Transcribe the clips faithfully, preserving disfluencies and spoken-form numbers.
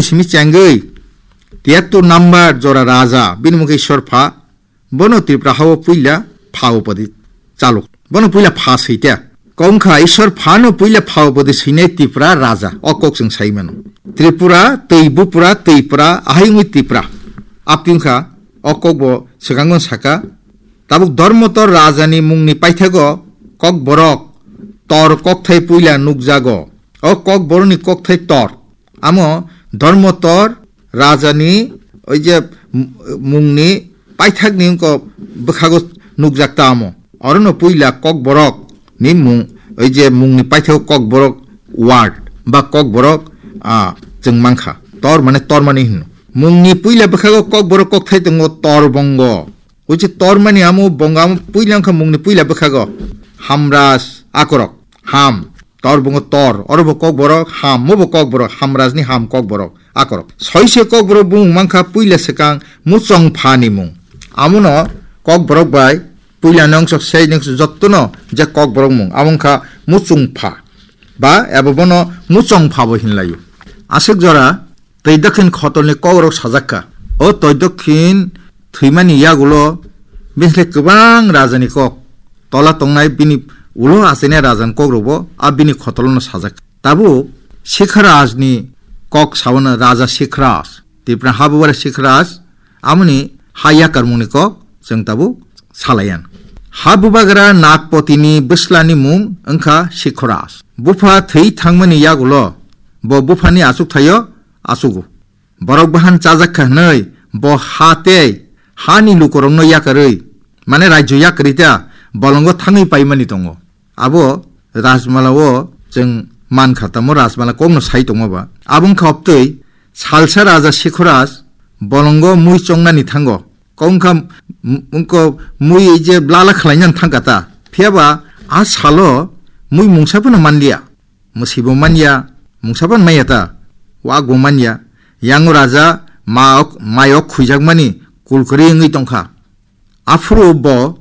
simi chengwi tiyattur number jora raja, bini mungkhe Ishwar pha, bono Tripura hao puila pha upadi chaluk. Bono puila pha sita. Kongkha Ishwar phano puila pha upadi sinai Tripura raja. O kok chwng sai mano. Tripura, twi bupura, twi pura, ahai wngwi Tripura. Apti wngkha, o kok bo swkango saka. Tabuk Dharmotor rajani mungni paithago kokborok tor kokthai puila nukjago. O kokborokni kokthai tor. Amo Dharmotor rajani oi je m-, mungni paithakni wngkha bwkhago nukjak ta amo. Orono puila kokborok ni mung, oi je mungni paithak kokborok word ba kokborok, ah, chwng mankha. Tor mane tormani hino. Mungni puila bwkhago kokborok kokthai tongo tor bongo. Oi je tormani amo bongo amo puila wngkha mungni puila bwkhago. Hamras akorok. Ham. Tor bongo tor. Oro bo kokborok ham. Mo bo kokborok. Hamrasni ham kokborok. Akorok. Soise kokborok bumung mankha puila swkang muchongphani mung. Amono kokborok bai puila nongso sei nongso jottono je kokborok mung. Amo wngkha muchungpha. Ba ebo bono muchongpha bo hinlaio. Aswk jora twi dakhin khotolni kokrok sajakka. O twi dakhin thwimani yagulo bisle kwbang rajani kok. Tola tongnai bini ulo achainai rajani kokrokbo a bini khotolono sajak. Tabuk Sikharajni kok sabono Raja Sikharaj. Tipra habubara Sikharaj amoni ha yakarmungni kok chwng tabuk salayan. Ha bubagra Nagpotini bwslani mung wngkha Sikharaj. Bupha thwi thangmani yagulo bo buphani achuk thaio achugo. Borok bahan chajak kha hwnwi bo ha tei hani lukurokno yakarwi, mane rajyo yakarwi ta bolongo thangwi paimani tongo. Abo Rajmala o chwng man kha, tamo Rajmala kokno sai tongma ba. Abo wngkha obtwi salsa Raja Sikhoraj bolongo mui chongnani thango. Kok wngkha m-, wngkha mui je blala khlainani thangkha ta. Phiyaba a salo mui mungsa phano manliya. Mwswibo manya, mungsa phano manya ta. Wak bo manya. Yango raja ma-, mayok khwijakmani kulkuri wngwi tongkha. Aphuru bo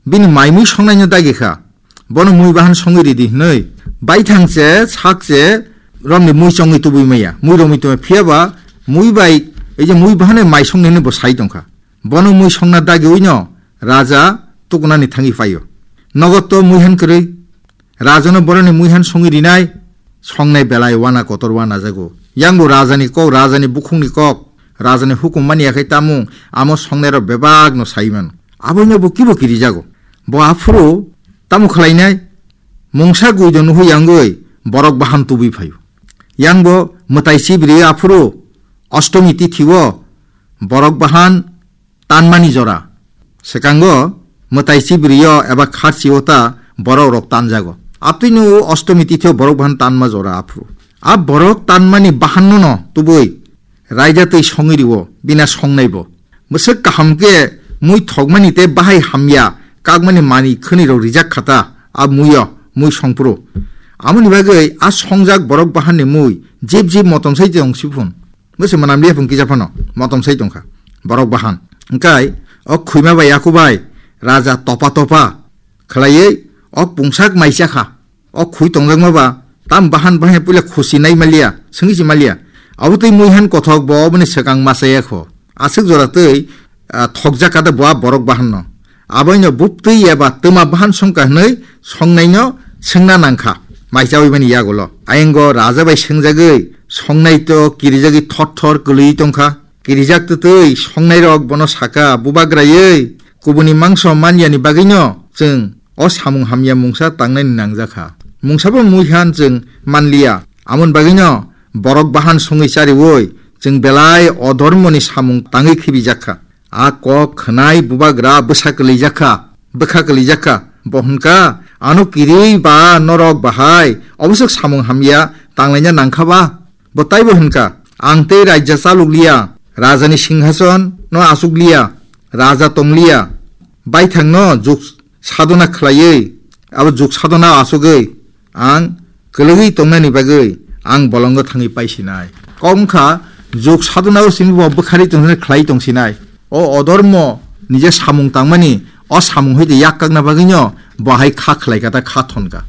bini mai mui songnaino dagi kha. Bono mui bahan songwi ridi hwnwi baithang se sak se romni mui chongwi tubui maya, mui romwi tubui maya. Phiyaba mui bai, ei je mui bahan mai songnani bo sai tongkha. Bono mui songna dagi uino raja tukunani thangwi paio. Nogo to mui han kwrwi. Rajano boroni mui han songwi rinai, songnai belai wana kotor wana jago. Yangbo rajani kok, rajani bukhukni kok, rajani hukum mani yakhai tamung, amo songnairok bebakno sai mano. Aboino bo kibo kirijago. Bo aphuru tamo khlainai, mungsa guido nuhu yangwi borok bahan tubui phaio. Yangbo mwtai chibri aphuru Ostomi tithio borok bahan tanmani jora. Swkango mwtai chibrio eba kharchio ta borok rok tanjago. Abtwino o Ostomi tithio borok bahan tanma jora aphuru. A borok tanmani bahanno no tubui raida twi songwi rio, bina songnaibo. Bwswk kaham khe mui thokmani tei bahai hamya kakmani mani khwnirok rijak khata a muio, mui songphuru. Amoni bagwi a songjak borok bahanni mui jib jib motom sai tong siphun. Bwse mwnam liya phung kisa phano motom sai tongkha borok bahan. Hwnkhe o khwima bai yaku bai raja topa topa khlaiwi o pungsak mai chakha. O khwi tongjakma ba tam bahan bahai puila khusi nai maliya, swngwi si maliya. Abo twi mui han kothok bo oboni swkang masa yakho. Aswk jora twi, ah, thokjak kata bo a borok bahanno. Aboino buptwi eba twma bahan songkha hwnwi songnaino swngna nangkha. Mai chawi mani yagulo. Ayengo raja bai swngjagwi songnai to kirijagwi thot thor kwlwi tongkha. Kirijak twtwi songnairok bono saka, "Bubagraiwi kubuni mangso manyani bagwino chwng o samung hamya mungsa tangnaini nangjakha. Mungsabo mui han chwng manliya. Amoni bagwino borok bahan songwi chariwi chwng belai odhormoni samung tangwi khibijakkha." A kok khwnai bubagra bwsa kwlijakha, bwkha kwlijakha. Bo hwnkha, "Ano kirwi ba norok bahai oboswk samung hamya tanglaina nangkha ba?" Bo taibo hwnkha, "Ang tei raija chalukliya, rajani singhason no achukliya, raja tongliya, baithangno juk sadona khlaiwi, abo juk sadona achugwi ang kwlwgwi tongnani bagwi ang bolongo thangwi paisinai." Kok wngkha, juk sadona o simi bo bwkhari tongsinai, khlai tongsinai. O odormo nije samung tangmani, o samung hoite yak kakna bagwino bo hai kha khlai kha ta kha thon kha.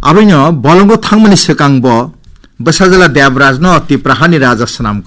Aboino bolongo thangmani swkang bo bwsajwla Debrajno Tipra hani raja swnam